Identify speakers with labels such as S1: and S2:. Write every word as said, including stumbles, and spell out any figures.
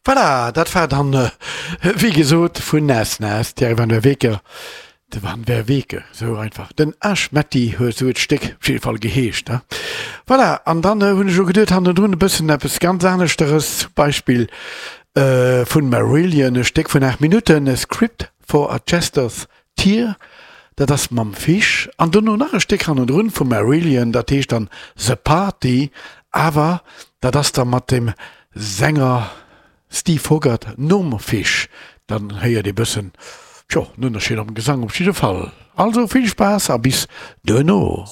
S1: Voilà, dat war dann, wéi gesot, vun Nas Nas, Thierry van der Weke, de Van der Weke, sou einfach. Den Ash Metty huet sou d'Stéck op jidde Fall geheescht, ne? Voilà, an dann hunn ech elo geduet, hannendrun e bëssen eppes ganz aneschteres, zum Beispill vun Marillion, e Stéck vun aacht Minutten, A Script for a Jester's Tear, dat ass mam Fish, an dono nach e Stéck hannendrun vu Marillion, dat heescht dann The Party, awer dat ass da mat dem Sänger Steve Hogarth nom Fish, dann héiert ee bëssen, tjo, en Ënnerscheed am Gesang op jidde Fall. Also vill Spaass a bis duerno.